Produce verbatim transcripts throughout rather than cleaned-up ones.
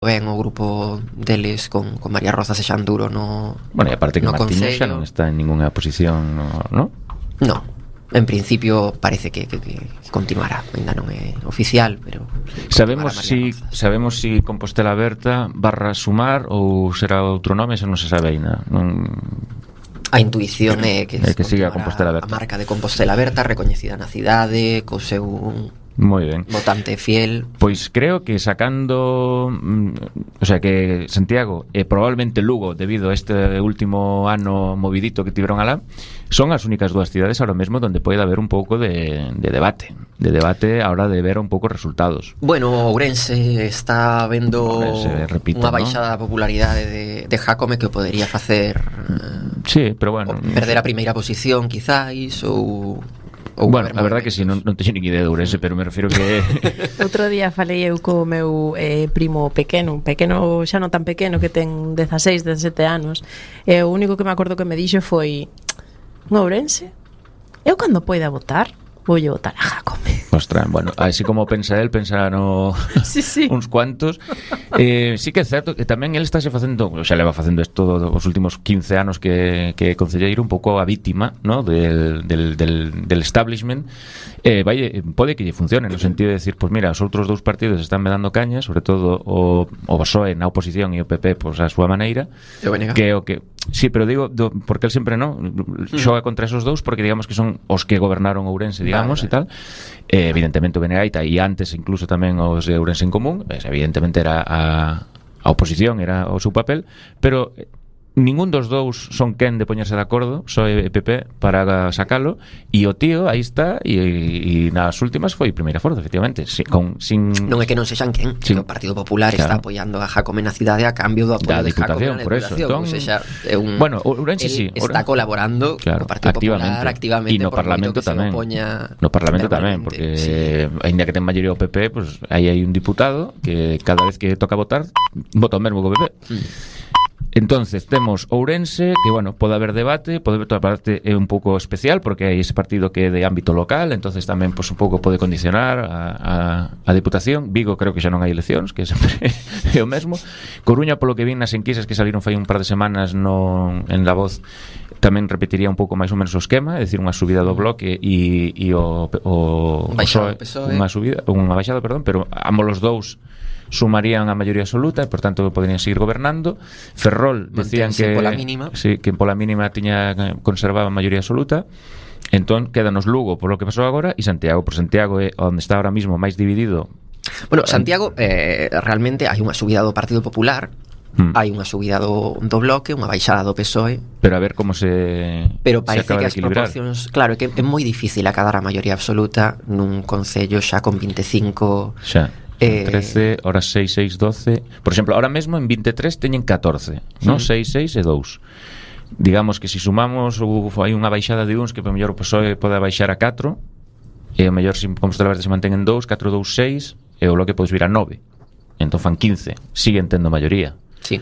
ben o grupo deles con, con María Rozas e Xanduro no Bueno, e aparte que no Martínez xa non está en ninguna posición, no, no? No, en principio parece que, que, que continuará, ainda non é oficial, pero sabemos si Rozas. Sabemos si Compostela Aberta barra Sumar ou será outro nome, xa non se sabe aínda. Non... A intuición é que, é que siga a Compostela Aberta. A marca de Compostela Aberta recoñecida na cidade, co seu moi ben. Votante fiel. Pois creo que sacando, o sea, que Santiago e probablemente Lugo, debido a este último ano movidito que tiveron alá, son as únicas dúas cidades ahora mesmo donde pode haber un pouco de, de debate, de debate a hora de ver un pouco resultados. Bueno, Ourense está vendo Ourense, repito, unha baixada ¿no? popularidade de, de Jácome que o podería facer sí, pero bueno, perder a primeira posición quizás ou bueno, a verdade que si, sí, non, non teño nin idea de Ourense, pero me refiro que... Outro día falei eu co meu eh, primo pequeno, pequeno xa non tan pequeno, que ten dezaseis, dezasete anos, e o único que me acordo que me dixo foi: Ourense, eu cando poida votar, voulle votar a Jácome. Ostras, bueno, así como pensa él, pensa no sí, sí. uns cuantos. Eh, sí que é certo que tamén él estáse facendo, o xa leva facendo isto os últimos quince anos que, que concelleiro, un pouco a vítima, ¿no? del, del, del, del establishment. Eh, vai, pode que lle funcione, no sentido de decir, pues mira, os outros dous partidos están me dando caña, sobre todo o, o B S O E na oposición e o P P pues, a súa maneira, que o que sí, pero digo, do, porque él sempre no xoga contra esos dous, porque digamos que son os que gobernaron Ourense, digamos, vale, vale. E tal. Eh, evidentemente o Benegaita e antes incluso tamén os de Ourense en Común, pues, evidentemente era a, a oposición, era o seu papel, pero ningún dos dous son quen de poñerse de acordo, só e P P para sacalo, e o tío aí está e, e nas últimas foi primeira forza, efectivamente, sin, con, sin... non é que non sexan quen, sin... que o Partido Popular claro. Está apoiando a Jácome na cidade a cambio do apoio da de Jácome na Diputación, entón... o sea, é un... bueno, Ourense sí, está colaborando claro, co Partido activamente. Popular activamente e no Parlamento tamén, no Parlamento tamén, porque sí. Ainda que ten maioría o P P, pues, aí hai un diputado que cada vez que toca votar vota o mesmo co P P. Mm. Entonces temos Ourense, que bueno, pode haber debate, pode haber toda parte é un pouco especial porque hai ese partido que é de ámbito local, entonces tamén pues, un pouco pode condicionar a, a, a Diputación. Vigo creo que xa non hai eleccións, que sempre é o mesmo. Coruña, polo que vin nas enquisas que saliron fai un par de semanas no, en La Voz, tamén repetiría un pouco máis ou menos o esquema, é dicir, unha subida do bloque e, e o, o, o P S O E, unha subida, unha baixada, perdón, pero ambos os dous sumarían a maioría absoluta e, por tanto, poderían seguir gobernando. Ferrol decían que pola mínima. Sí, que pola mínima tiña conservaba a maioría absoluta. Entón, quédanos Lugo por lo que pasou agora e Santiago, por Santiago é onde está ahora mismo máis dividido. Bueno, Santiago, eh, realmente hai unha subida do Partido Popular, hmm. hai unha subida do, do Bloque, unha baixada do P S O E. Pero a ver como se Pero parece se que as proporcións, claro, que é moi difícil acadar a maioría absoluta nun concello xa con vinte e cinco... Xa. Eh... trece, horas seis, seis, doce. Por exemplo, ahora mesmo en vinte e tres teñen catorce, non? seis, seis e dous. Digamos que se si sumamos uf, hai unha baixada de uns que por mellor o P S O E pode baixar a catro, e o mellor se Compostela Verde se mantén en dous, catro, dous, seis, e o Bloque podes vir a nove. Entón fan quince. Siguen tendo maioría. Sí.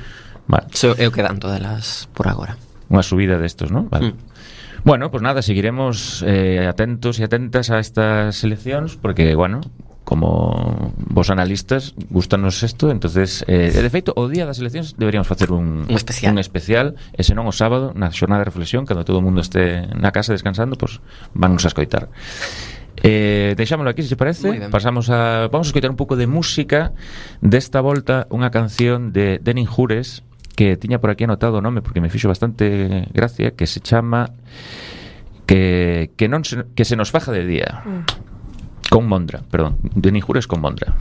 Vale. So, é o que dan todas as por agora. Unha subida destos, non? Vale. Mm. Bueno, pues nada, seguiremos eh, atentos e atentas a estas eleccións, porque, bueno, como vos analistas gustanos isto, entonces eh, de feito o día das eleccións deberíamos facer un, un especial, un especial e senón o sábado na xornada de reflexión, cando todo o mundo este na casa descansando, pues vannos a escoitar. Eh, deixámoslo aquí, se che parece. Pasamos a vamos a escoitar un pouco de música. Desta volta unha canción de Denin Jures que tiña por aquí anotado o nome porque me fixo bastante gracia, que se chama que que non se, que se nos faja de día. Mm. Con Mondra, perdón, Denin Jures con Mondra.